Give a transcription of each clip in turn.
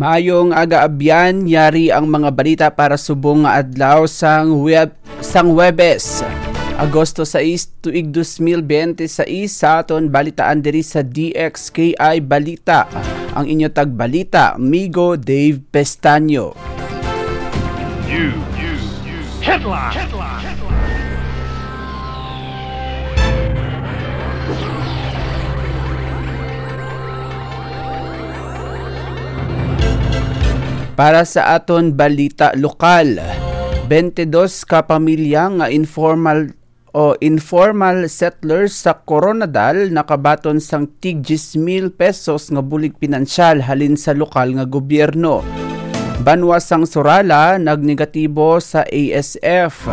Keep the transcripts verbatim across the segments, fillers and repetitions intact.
Maayong aga, Abyan. Yari ang mga balita para subong nga adlaw sang Web-, sang Huwebes, Agosto sais, tuig dos mil bente sais, sa aton balitaan diri sa D X K I Balita. Ang inyo tagbalita, Migo Dave Pestaño. Para sa aton balita lokal, twenty-dos ka pamilya nga informal o informal settlers sa Koronadal nakabaton sang tig diyes mil pesos nga bulig pinansyal halin sa lokal nga gobyerno. Banwa sang Surala nagnegatibo sa A S F.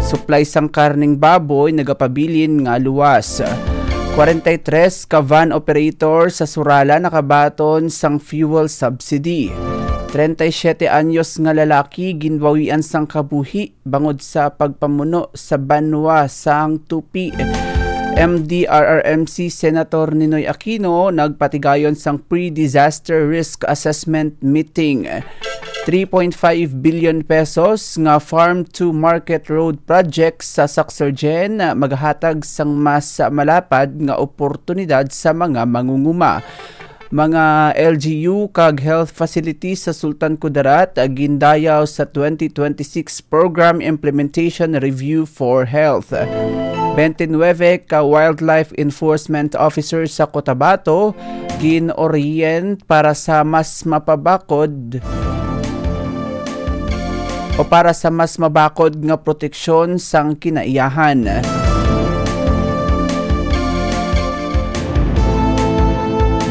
Supply sang karning baboy nagapabilin nga luwas. Kwarenta y tres ka van operator sa Surala nakabaton sang fuel subsidy. Treinta y siete anyos nga lalaki ginbawian sang kabuhi bangod sa pagpamuno sa banwa sang Tupi. M D R R M C Senator Ninoy Aquino nagpatigayon sang pre-disaster risk assessment meeting. Three point five billion pesos nga farm to market road project sa Sucsergen magahatag sang mas malapad nga oportunidad sa mga mangunguma. Mga L G U kag health facilities sa Sultan Kudarat gindayaw sa twenty twenty-six Program Implementation Review for Health. Twenty-nine ka wildlife enforcement officers sa Cotabato gin-orient para sa mas mapabakod o para sa mas mabakod nga proteksyon sang kinaiyahan.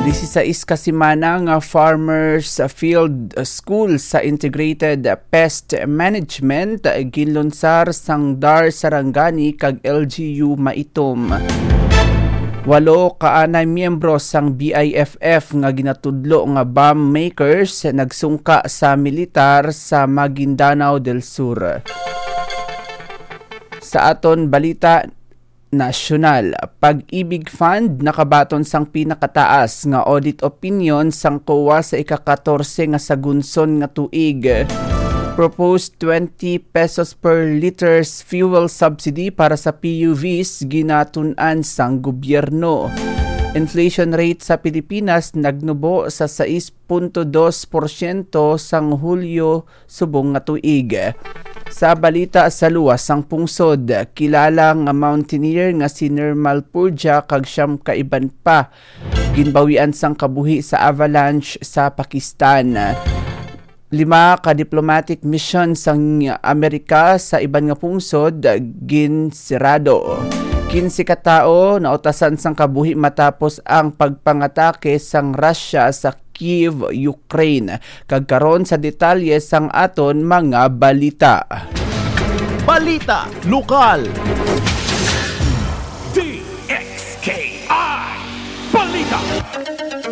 Disisais ka semana nga Farmers Field School sa Integrated Pest Management ginlunsar sang DAR Sarangani kag L G U Maitom. Walo ka anay miyembro sang B I F F nga ginatudlo nga bomb makers nagsungka sa militar sa Maguindanao del Sur. Sa aton balita nasyonal, Pag-ibig Fund nakabaton sang pinakataas nga audit opinion sang COA sa ika-katorse nga sagunson nga tuig. Proposed twenty pesos per liters fuel subsidy para sa P U Vs ginatun-an sang gobyerno. Inflation rate sa Pilipinas nagnubo sa sais punto dos porsyento sang Hulyo subong nga tuig. Sa balita sa luwas sang pungsod, kilala nga mountaineer nga si Nirmal Purja kag siyam ka iban pa ginbawian sang kabuhi sa avalanche sa Pakistan. Lima ka diplomatic mission sang Amerika sa iban nga pungsod ginsirado. Kinse ka tawo nautasan sang kabuhi matapos ang pagpangatake sang Russia sa Kyiv, Ukraine. Kag karon sa detalye sang aton mga balita. Balita lokal.